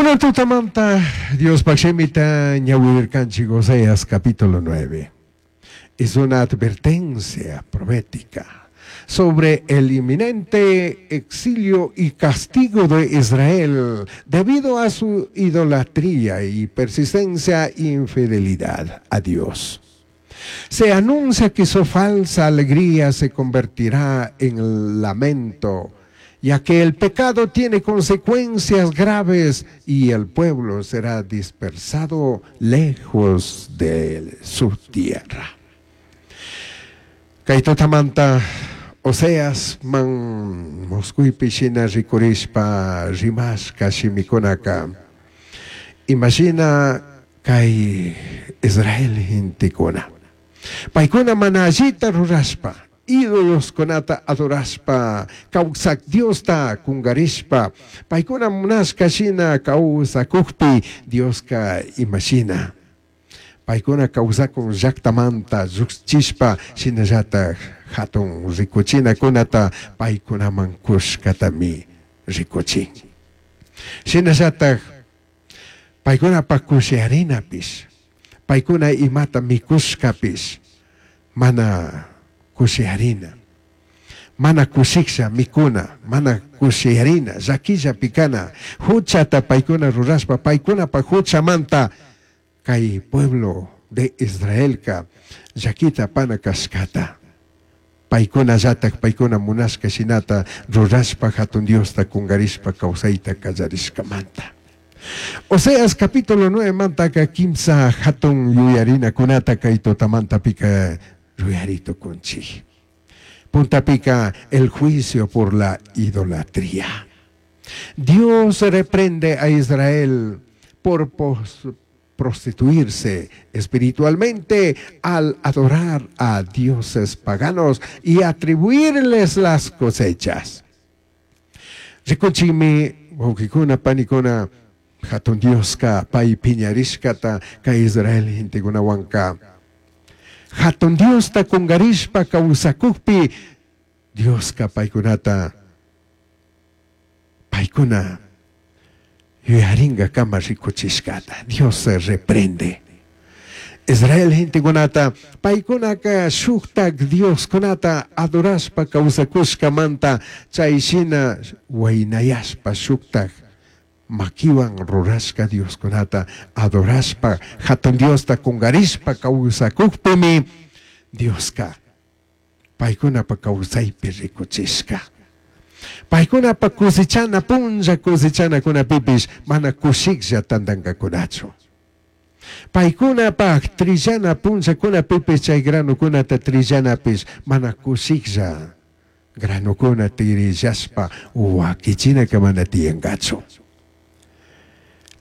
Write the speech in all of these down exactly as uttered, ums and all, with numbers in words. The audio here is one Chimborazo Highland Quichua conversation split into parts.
Kunan tutamanta Diospaj shimita ñawirirkanchik Oseas capítulo nueve. Es una advertencia profética sobre el inminente exilio y castigo de Israel debido a su idolatría y persistencia e infidelidad a Dios. Se anuncia que su falsa alegría se convertirá en lamento, ya que el pecado tiene consecuencias graves y el pueblo será dispersado lejos de su tierra. Kay tutamanta Oseas man muscuipi shina ricurishpa rimashka shimikunaka imashina kay Israel gentekuna paykuna mana allita rurashpa ídoloskunata adorashpa kawsak Diosta kungarishpa paykuna munashka shina kawsakukpi Dioska imashina paykuna kawsakun llaktamanta llukchishpa shinallatak hatun rikuchinakunata paykunaman kushkatami rikuchin. Shinallatak paykunapak kushiyarinapish paykuna imata mikushkapish mana kushiyarina, mana kushiksha mikuna, mana kushiyarina, llakilla pikana, huchata paykuna rurashpa paykunapak huchamanta kay pueblo de Israelka llakita pana kashkata. Paykuna llatak paykuna munashka shinata rurashpa hatun Diosta kungarishpa kawsayta kallarishkamanta. Oseas capítulo nueve mantaka kimsa hatun yuyarinakunata kay tutamanta pika yuyarito kunchik. Puntapika el juicio por la idolatría. Dios reprende a Israel por pos-, prostituirse espiritualmente al adorar a dioses paganos y atribuirles las cosechas. Rikunchikmi wawqikuna panikuna hatun Dioska pay piñarishkata kay Israel gentekunawanka. Hatun Diosta kungarishpa kawsakukpi Dioska paykunata paykuna yuyaringa kama rikuchishkata. Dios se reprende. Israel gentekunata paykunaka shuktak Dioskunata adorashpa kawsakushkamanta chay shina waynayashpa shuktak makiwan rurashka Dioskunata adorashpa hatun Diosta kungarishpa kawsakukpimi Dioska paykunapa kawsaypi rikuchishka. Paykunapa kusichana punlla kusichanakunapipish mana kushiklla tantankakunachu. Paykunapaj trillana punllakunapipish chay granukunata trillanapish mana kushiklla granukuna trillashpa wakichinaka mana tiyankachu.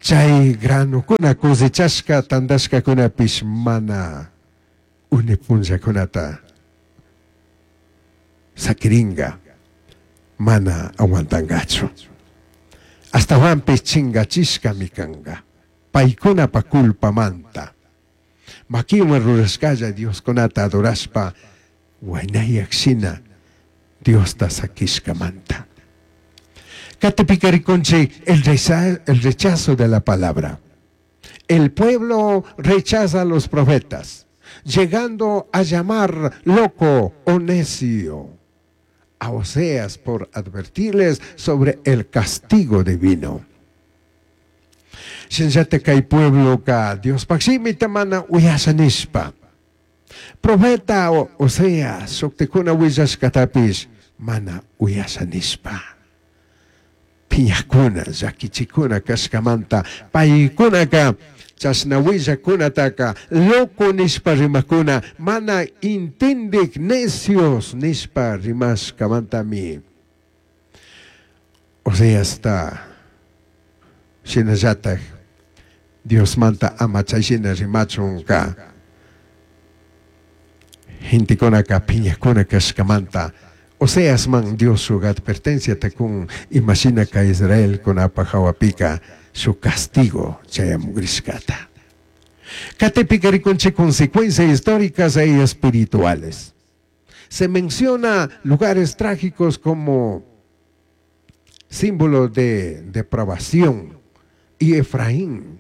Chay granukuna cosechashka tantashkakunapish mana une punllakunata sakiringa mana aguantangachu. Astawanpish chingachishkami kanga. Paykunapa culpamanta. Makiwan rurashkalla Dioskunata adorashpa waynayak shina Diosta sakishkamanta. Katipika rikunchik el rechazo, el rechazo de la palabra. El pueblo rechaza a los profetas, llegando a llamar loco o necio a Oseas por advertirles sobre el castigo divino. Shinllate kay pueblo ka Dios pakshimita mana uyasha nishpa. Profeta Oseas shuktikuna willashkatapish mana uyasha nishpa. Piñakuna, llakichikuna kashkamanta paykunaka chashna willakunataka loco nishpa rimakuna mana intindik necios nishpa rimashkamantami. Oseasta shinallatak Diosmanta ama chay shina rimachunka gentekunaka piñakuna kashkamanta Oseas man Dios su advertencia takun imagina ka Israel kunapa hawapika su castigo chayamugrishkata. Katepika rikunche consecuencias históricas e espirituales. Se menciona lugares trágicos como símbolo de depravación y Efraín,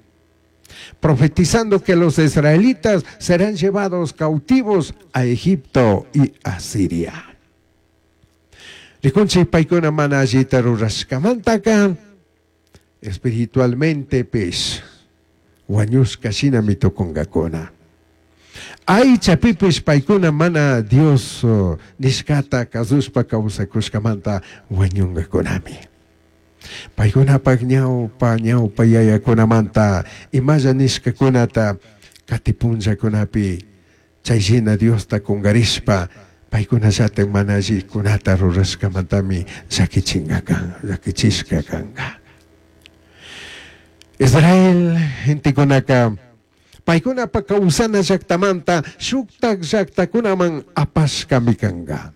profetizando que los israelitas serán llevados cautivos a Egipto y a Siria. Rikunchik paykuna mana allita rurashkamantaka espiritualmente pish wañushka shinami tukunkakuna. Aychapipish paykuna mana Dios nishkata kasushpa kawsakushkamanta wañunkakunami. Paykunapak ñawpa ñawpa yayakunamanta imalla nishkakunata katipunllakunapi chayshina Diosta kunkarishpa paykunallatak mana allikunata rurashkamantami llakichinkaka llakichishka kanka. Israel gentekunaka paykunapa kawsana llaktamanta shuktak llaktakunaman apashkami kanka.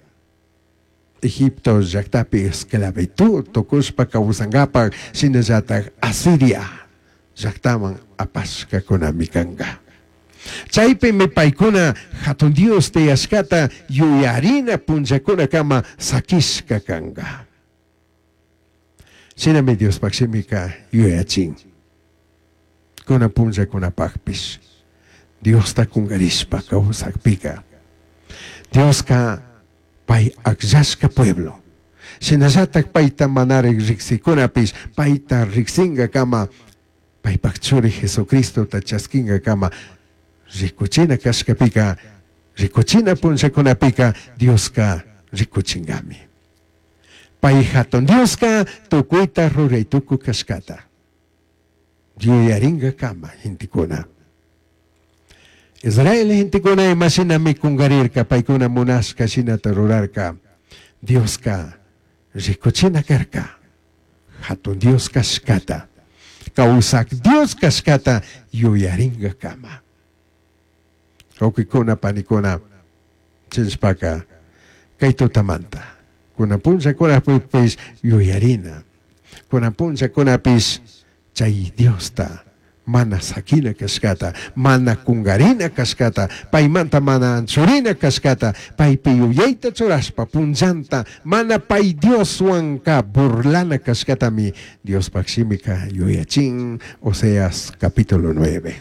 Egipto llaktapi esclavitud tukushpa kawsankapak shinallatak Asiria llaktaman apashkakunami kanka. Chaypimi paykuna hatun Dios tiyashkata yuyarina punllakunakama sakishka kanka. Shinami Diospak shimika yuyachin. Kuna punllakunapakpish Diosta kunkarishpa kawsakpika Dioska pay akllashka pueblo shinallatak payta manarik riksikunapish payta riksinkakama paypak churi Jesucristota chasquinkakama rikuchina kashkapika rikuchina punllakunapika Dioska rikuchinkami. Pay hatun Dioska tukuyta ruray tukuy kashkata yuyarinkakama gentekuna. Israel gentekuna imashinami kunkarirka paykuna munashka shinata rurarka Dioska rikuchina karka hatun Dios kashkata kawsak Dios kashkata yuyarinkakama. Wawqikuna panikuna chinshpaka kay tutamanta kunan punllakunapish yuyarina kunan punllakunapish chay Diosta mana sakina kashkata mana kunkarina kashkata paymanta mana anchurina kashkata paypi yuyayta churashpa punllanta mana pay Dioswanka burlana kashkatami Diospak shimika yuyachin. Oseas capítulo nueve.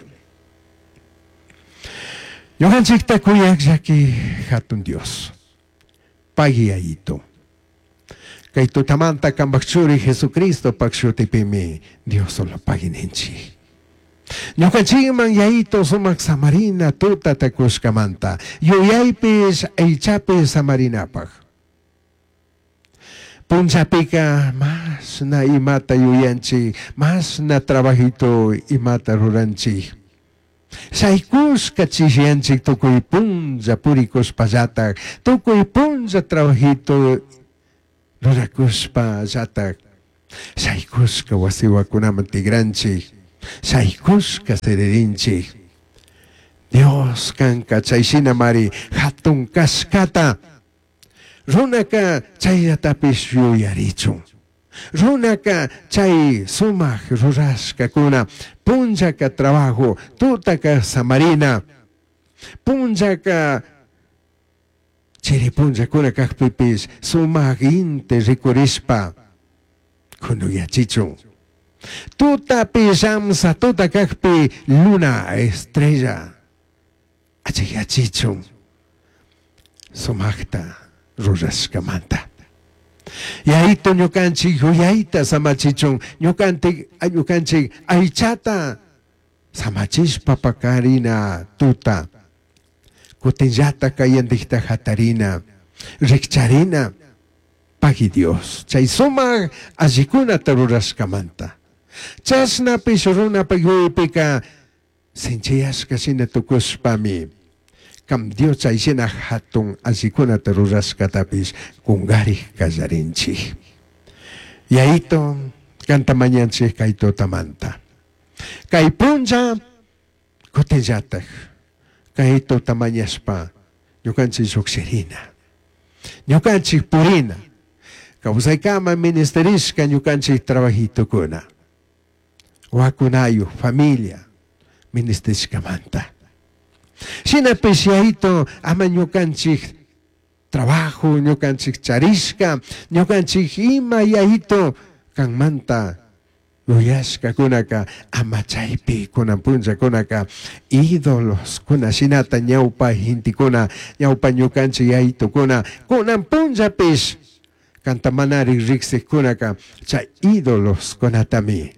Ñukanchikta kuyak llaki hatun Dios pagui yayito kay tutamanta kampak churi Jesucristo pak shutipimi Dios solo pagui ninchik. Ñukanchikman yayito sumak samarina tuta takushkamanta yuyaypish aychapish samarinapak. Punllapika masna imata yuyanchik masna trabajito imata ruranchik. Shaykushka chishiyanchik tukuy punlla purikushpallatak tukuy punlla trabajito rurakushpallatak shaykushka wasiwakunaman tigranchik shaykushka siririnchik. Dios kanka chayshinamari hatun kashkata runaka chayllatapis yuyarichun. Runaka chay sumak rurashkakuna punllaka trabajo tutaka samarina punllaka chiri punllakuna kakpipis sumak inti rikurishpa kunuyachichun. Tutapi llamsa tuta kakpi luna estrella achiyachichun sumakta rurashkamanta. Yayito ñukanchik yuyayta samachichun ñukanchik ñukanchik aychata samachishpa pakarina tuta kutinllata kayandikta hatarina rikcharina pagui Dios chay sumak allikunata rurashkamanta. Chashnapish runapak yuyaypika sinchiyashka shina tukushpami kam Dios chayshina hatun allikunata rurashkatapish kunkarik kallarinchik. Yayito kanta mañanchik kay tutamanta. Kay punlla kutinllatak kay tuta mañashpa ñukanchik llukshirina ñukanchik purina kawsaykama ministerishka ñukanchik trabajitukuna wakunayu familia ministishkamanta. Shinapish yayito ama ñukanchik trabajo ñukanchik charishka ñukanchik ima yayito kanmanta Yuyashkakunaka ama chaypi kunan punllakunaka ídolos kuna shinata ñawpa gentekuna ñawpa ñukanchik yayitukuna kunan punllapish kanta manari riksikunaka chay ídolos kunatami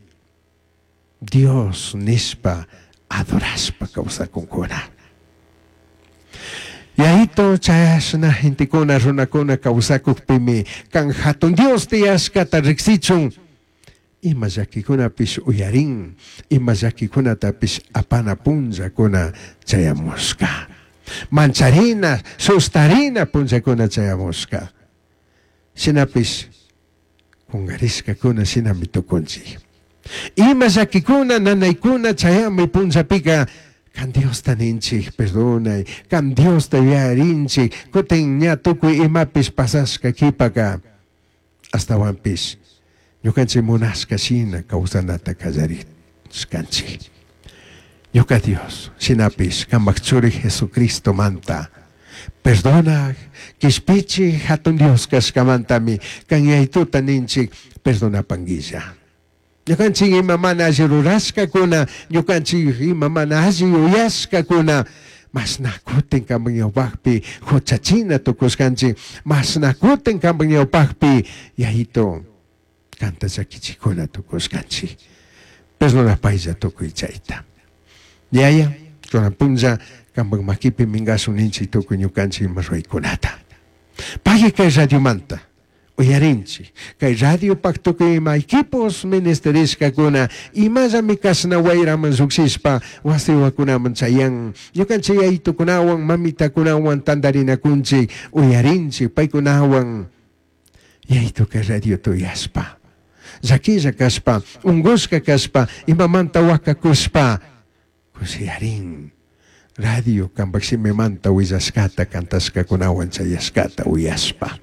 Dios nishpa adorashpa kawsakunkuna. Yayito chayashna gentekuna runakuna kawsakukpimi kan hatun Dios tiyashkata riksichun ima llakikunapish uyarin ima llakikunatapish apana punllakuna chayamushka mancharina sustarina punllakuna chayamushka shinapish kungarishkakuna shinami tukunchik ima llakikuna nanaykuna chayami punllapika kan Diosta ninchik perdonay kan Diosta yuyarinchik kutin ña tukuy imapish pasashka kipaka astawanpish ñukanchik munashka shina kawsanata kallarishkanchik ñuka Dios shinapish kanpak churi Jesucristomanta perdona kishpichik hatun Dios kashkamantami kan yayituta ninchik perdonapanguilla ñukanchik ima mana alli rurashkakuna ñukanchik ima mana alli yuyashkakuna mashna kutin kanpak ñawpakpi huchachina tukushkanchik mashna kutin kanpak ñawpakpi yayito kanta llakichikuna tukushkanchik perdonapaylla tukuy chayta yaya kunan punlla kanpak makipi minkashun ninchik tukuy ñukanchik ima ruraykunata pagui kay radiomanta uyarinchik kay radiopak tukuy ima equipos ministerishkakuna imallami kashna wayraman llukshishpa wasi wawakunaman chayan ñukanchik yayitukunawan mamitakunawan tantarinakunchik uyarinchik paykunawan yayitu kay radiota uyashpa llakilla kashpa unkushka kashpa imamanta wakakushpa kushiyarin radio kanpak shimimanta willashkata kantashkakunawan chayashkata uyashpa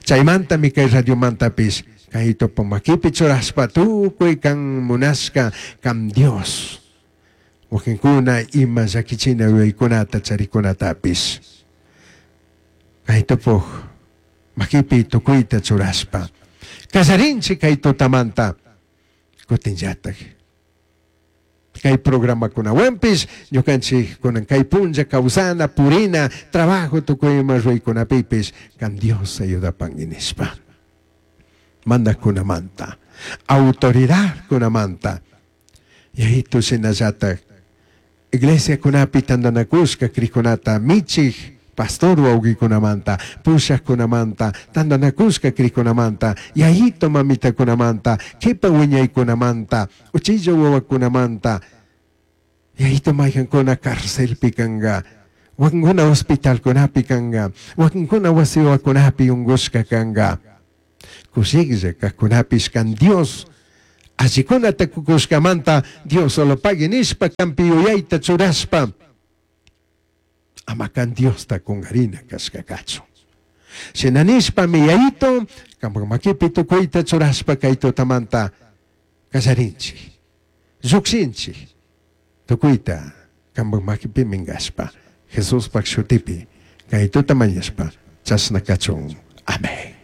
chaymantami kay radiomantapish kay topo makipi churashpa tukuy kan munashka kan Dios wakinkuna ima llakichina yuyaykunata charikunatapish kay topoj makipi tukuyta churashpa kallarinchik kay tutamanta kutinllatak kay programakunawanpish ñukanchik kunan kay punlla kawsana purina trabajo tukuy ima ruraykunapipish kan Dios ayudapanki nishpa mandakkunamanta autoridadkunamanta yayitu shinallatak iglesiakunapi tantanakushka krikunata michik pastor wawqikunamanta pushaqkunamanta tantanakushka krikunamanta yayito mamitakunamanta kipa wiñaykunamanta uchilla wawakunamanta yayito mayqankuna carcelpi kanka wakinkuna hospitalkunapi kanka wakinkuna wasi wawakunapi unkushka kanka kushiklla kaqkunapish kan Dios allikunata kukushkamanta Dios solo pagui nishpa kanpi yuyayta churashpa ama kan Diosta kunkarina kashka kachun shina nishpami yayito kanpak makipi tukuyta churashpa kay tutamanta kallarinchik llukshinchik tukuyta kanpak makipi minkashpa Jesuspak shutipi kay tuta mañashpa chashna kachun. Amén.